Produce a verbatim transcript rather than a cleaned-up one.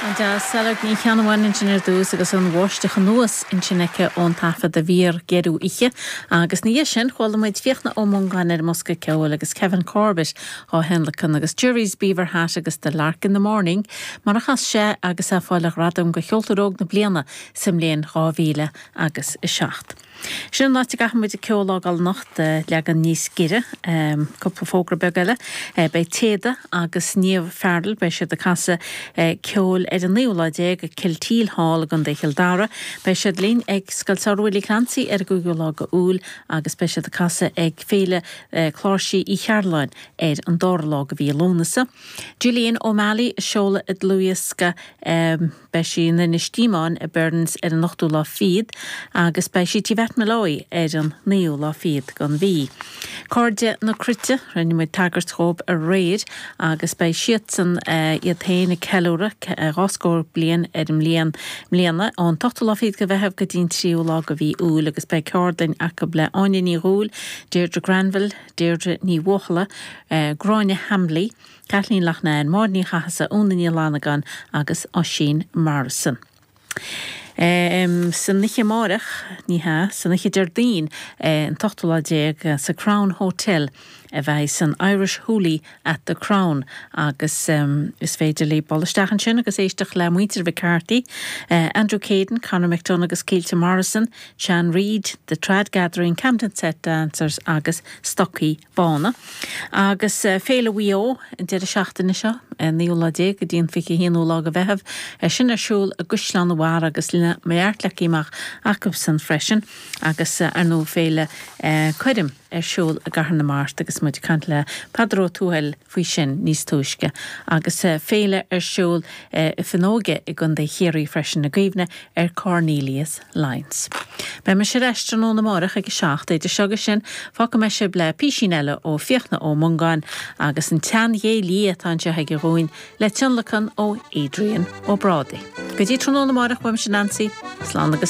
An-deas Sailearg Ní Cheannabháin ansin ar dtús agus an bháisteach anuas ansin aici ón taifead a bhí ar geirú oíche, agus ina dhiaidh sin chuala muid Fiachna Ó Mongáin ar an mbosca ceoil agus Kevin Corbett á thionlacan agus Jerry's Beaver Hat agus The Lark in the Morning, mar a chas sé agus é ag fáil a ghradam do cheoltóir óg na bliana sa mbliain dhá mhíle agus a seacht. Sin an áit a gcaithfidh muid an ceol a fhágáil anocht leagan níos giorra, cúpla fógra beag eile. Beidh Téada agus Niamh Farrell, beidh siad ag casadh ceoil ar an naoú lá déag ag Kilteel Hall i gContae Chill Dara. Beidh siad linn ag Scoil Samhraidh Willie Clancy ar an gcúigiú lá de Iúil agus beidh siad ag casadh ag Féile Cláirsí Uí Chearláin ar an dara lá de mhí Lúnasa. Gillian O'Malley ag seoladh a dlúthdhiosca beidh sí in Inis Díomáin i Burns ar an ochtú lá fichead agus beidh sí Tigh Mheait Molloy ar an naoú lá fichead den mhí. Cairde na Cruite, rinne muid tagairt dhóibh aréir agus beidh siadsan iad féin ag ceiliúradh dhá scór bliain ar an mbliain mbliana ón ochtú lá fichead de Mheitheamh go dtí an tríú lá de mhí Iúil agus beidh ceardlann acu le Áine Ní Dhúill, Deirdre Granville, Deirdre Ní Bhuachalla, Gráinne Hamley, Kathleen Loughnane, Máire Ní Chathasaigh, Úna Ní Fhlannagáin agus Oisín Morrison. Um, san oíche amárach ní hea san oíche Déardaoin an t-ochtú lá déag sa Crown Hotel a bheidh san Irish Hoolie at the Crown agus um, is féidir libh dul isteach ansin agus éisteacht le muintir McCarthy, uh, Andrew Caden, Conor McDonagh agus Caoilte Morrison, Sean Reid, The Trad Gathering, Camden Set Dancers agus Stocaí Bána. Agus uh, Féile Mhaigh Eo an deireadh seachtaine seo naoú lá déag go dtí an fiche haonú lá de Mheitheamh sin ar siúl i gCaisleán an Bharraigh agus le meart le amach acu freisin agus uh, ar nó féile uh, cuirim ar siúl i gCathair na Mart agus muid ag caint le Peadar Ó Tuathail faoi sin níos túisce agus uh, féile ar siúl uh, i Fionnóige i gContae Chiarraí freisin i gcuimhne ar Cornelius Lyons. Beidh mise ar ais tráthnóna amárach ag a seacht idir seo agus sin fágfaidh mé sibh le písín eile ó Fiachna Ó Mongáin agus an tseanghé liath atá anseo aige dhúinn le tionlacan ó Adrian Ó Brádaigh. Go dtí tráthnóna amárach uaimse Nancy, slán agus